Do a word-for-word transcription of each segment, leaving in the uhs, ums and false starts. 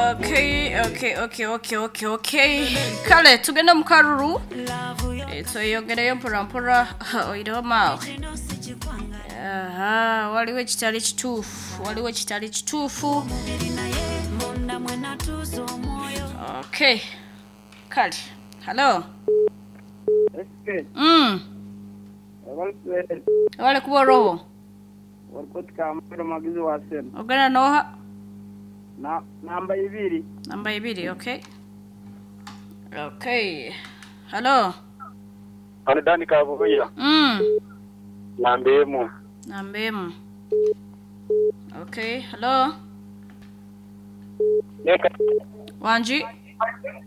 Okay, okay, okay, okay, okay, okay. Kale tugende mu karuru Eh, tweyongereyo mpora mpora oireho maawe. Aha, waliwo ekitali kituufu, waliwo ekitali kituufu. Okay, kale hallo. S K. Mm. Wale kuba orobo. Warikotikamiro magizi wa sena. Ogenda noha? Na namba ibiri. Namba ibiri, okay. Okay. Hallo. Hano Dani Kabuya. Mm. Namba emu. Namba emu. Okay, hello. Neka. Wanji.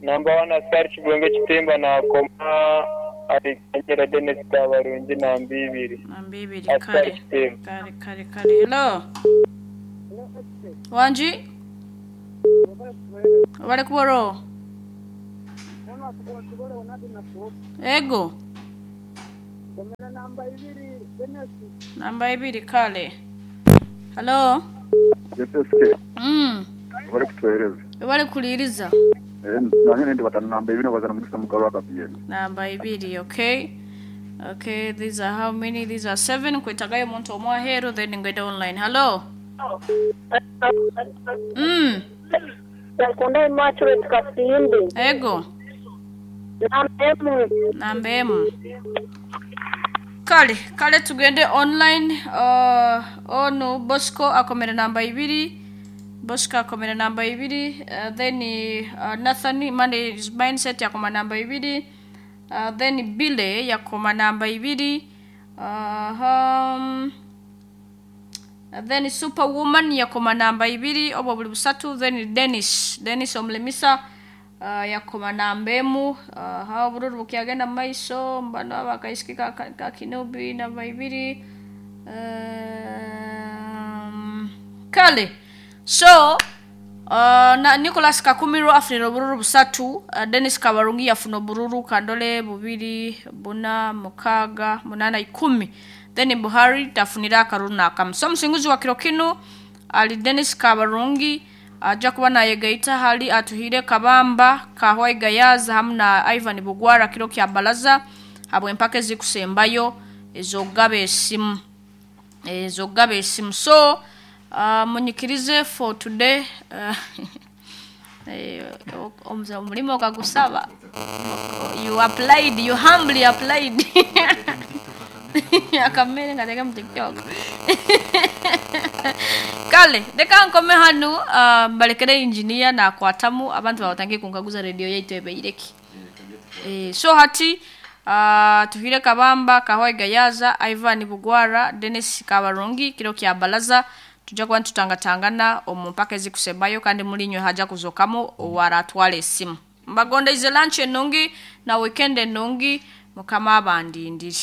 Namba one askari Kibwenge Kitimba nakoma Aliganyira Dennis Kabarungi namba ibiri. Namba ibiri. Askari Kale. Kitimba. Kale kale kale. Hello. Wanji. Wale kuboro. Ego. Namba ibiri Dennis. Namba ibiri, kale. Hello. S S K. Mm. Bari kutuhereza. Wale kuliriza. Eh, nange ndi batanu namba ibiri bazana mukisa mugabo akapiyeni. Namba ibiri, okay. Okay, these are how many? These are seven. Kwetagayo omuntu omwe aheeru, then ngende online. Hello. Mm. Nakunda Immaculate Kasindi. Ego. Namba emu. Namba emu. Kale, kale tugende online. Uh, onu Bosco akomera namba ibiri. Bosco akomera namba ibiri. Uh, then uh, Nathan Monday is mindset yakoma namba ibiri. Uh, then Bile yakoma namba ibiri. Uh, um, then Superwoman yakoma namba ibiri, obwo buli busatu. Then Dennis Dennis omulemisa uh, yakoma namba emu. uh, ha obululu bukyagenda mu maiso mbano abakaisiki ka, ka, ka Kinobi namba ibiri. um, kale so Uh, na Nicholas Kakumiro afunire obululu busatu. uh, Dennis Kabarungi yafuna obululu kandole bubiri, buna, mukaaga, munana, ikumi. Then Buhari tafunire akarulu nakamu. So omusinguzi wa kiro kinu ali Dennis Kabarungi, ajja kuba nayegaita hali Atuhire Kabamba, Kahwai Gayaza hamu na Ivan Bugwara kiro kya balaza habwempaka ezikusembayo ez'okugaba esimu ez'okugaba esimu. So uh, munyikirize for today. uh, eh, omuze- omulimu okagusaba, you applied, you humbly applied. Akamere nga mu TikTok. Kale reka nkome hanu, uh, mbalekere engineer nakwatamu. Abantu babatangiye kunkaguza radio yaitu ebeireki. Eh, so hati uh, Tuhire Kabamba, Kahwai Gayaza, Ivan Bugwara, Dennis Kabarungi, kiro kya balaza tujja kuba nitutangatangana omu mpaka ezikusembayo, kandi mulinywe haja kuzokamu owaratwala esimu. Mbagondeize lunch enungi na weekend enungi. Mukama abandindiri.